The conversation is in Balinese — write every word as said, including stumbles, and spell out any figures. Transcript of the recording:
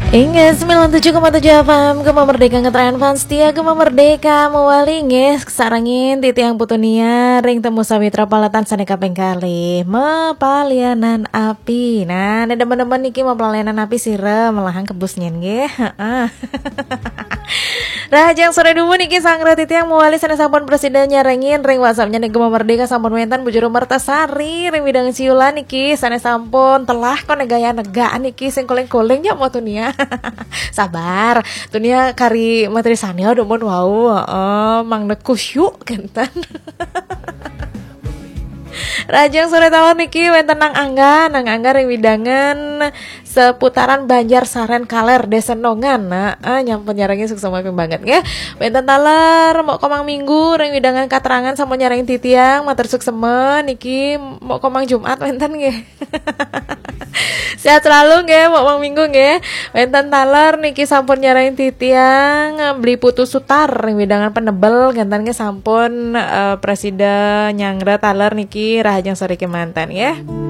Inggih, sembilan tujuh koma tujuh F M, Gema Merdeka ngetren fans setia Gema Merdeka mewali nggih, sarengin titiang Putu Nia ring Temu Sawitra Paletan sane kaping kalih, Mapalianan Api. Nah, nek demen-demen niki Mapalianan Api sira melahang kebus nyen nggih. Heeh. Rahajeng sore dumun niki, sang titiang mewali sane sampun presida nyarengin ring WhatsApp-nya ning Gema Merdeka, sampun wenten Bu Juru Mertasari ring Widang Siulan niki, sane sampun telah kok negaya negak niki, sing koling-koling ya mau Tunia. Sabar, Tunia kari materi sane dumun wau, heeh, mang neku syuk kenten. Rahajeng sore taler niki wenten Nang Angga, Nang Angga ring Widangan seputaran Banjar Saren Kaler, Desa Nongan. Nah, ah, nyampun nyarengin suksma banget nggih. Wenten taler Mok Komang Minggu ring Widangan Katrangan sampun nyarengin titiang, matur suksma niki. Mok Komang Jumat wenten nggih. Sehat selalu nggih, Mok Mang Minggu nggih. Wenten taler niki sampun nyarengin titiang, Beli Putu Sutar ring Widangan Penebel, kenten nggih sampun, eh, presida nyanggra taler niki, rahajeng sore kemanten nggih.